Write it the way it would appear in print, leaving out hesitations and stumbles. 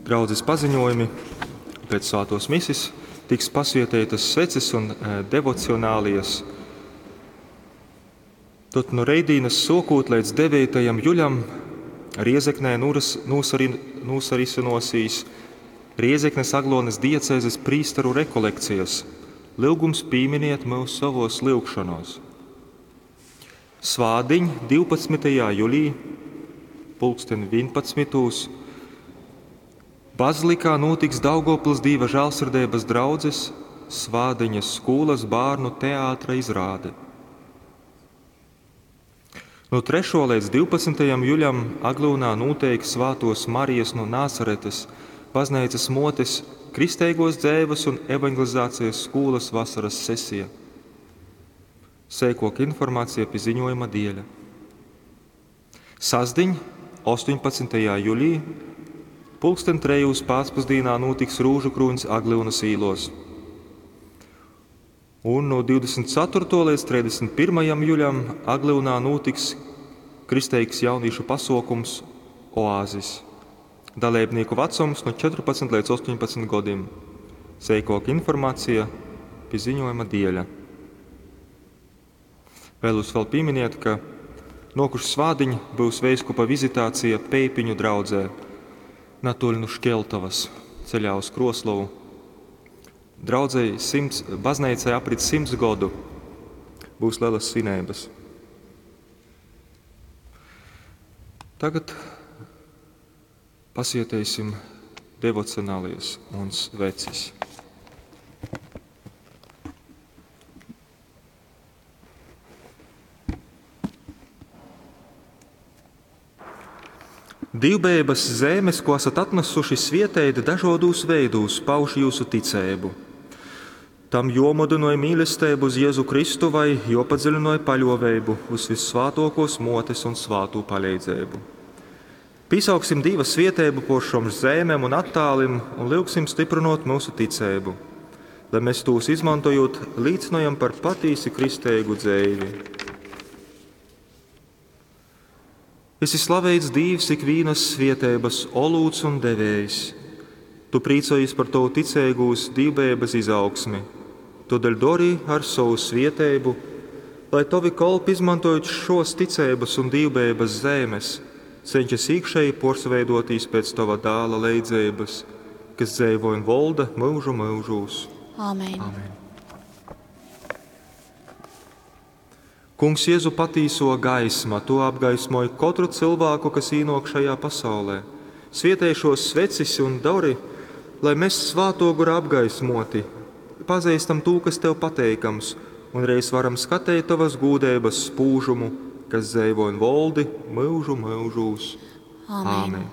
Draudzes paziņojumi pēc svētos misis tiks pasvieteitas sveces un devocionālijas. Tad no reidīnas sokūt līdz 9. juļam Riezeknē nūsarisynosīs Riezeknes Aglonas diecēzes prīsteru rekolekcijas. Lyugums pīminiet mūs savos lyugšanos. Svādiņ 12. julī, pulksten 11. Bazilikā notiks Daugavpils Dīva žēlsirdības draudzes Svādiņas skolas bērnu teātra izrāde. No 3. līdz 12. juļam Aglūnā notiek Svātos Marijas no Nācaretes baznīcas motes kristeigos dzēvas un evangelizācijas skolas vasaras sesija. Sēkok informācija pie ziņojuma dieļa. Sasdiņ, 18. jūlijā, pulksten trejūs pēcpusdienā notiks Rūžu krūņs Aglyunas īlos. Un no 24. līdz 31. jūlijam Aglyunā notiks kristeigs jauniešu pasaukums Oāzis. Dalībnieku vecums no 14 līdz 18 gadiem. Sīkāka informācija pie ziņojuma dieļa. Vēlos vēl pieminēt, ka nokušu svādiņ būs veiskupa vizitācija Peipiņu draudzē, natoļ no Škeltavas, ceļā uz Kroslovu. Draudzei baznīcai aprit 100 godu, būs lielas svinības. Tagad pasieteisim devocionālies un svecis. Divbēbas zemes, ko esat atnesuši svietēt dažādos veidūs, pauž jūsu ticēbu. Tam jomudinoja mīlestību uz Jēzu Kristu vai jopadziļinoja paļovēbu uz vissvātokos motes un svātū palīdzību. Pīsauksim Dieva svietēbu por šom zemēm un attālim un lūgsim stiprinot mūsu ticēbu, lai mēs tūs izmantojot līdzinojam par patīsi kristēgu dzēvi. Esi slaveits Dievs ikvīnas svietēbas olūts un devējs. Tu prīcojies par tavu ticēgūs dīvbēbas izaugsmi. Todēļ dori ar savu svietēbu, lai tavi kolpi izmantojot šos ticēbas un dīvbēbas zēmes, cenšas iekšēji porsveidotīs pēc tava dāla leidzības, kas dzēvo un volda mūžu mūžūs. Āmen. Amen. Kungs Jēzu patīso gaisma, to apgaismoja katru cilvēku, kas īnok šajā pasaulē. Svietēj šos svecis un dori, lai mēs svāto guru apgaismoti, pazīstam to, kas tev pateikams, un reiz varam skatīt tavas gūdības spūžumu, kas dzēvo un voldi mūžu mūžūs. Āmen. Āmen.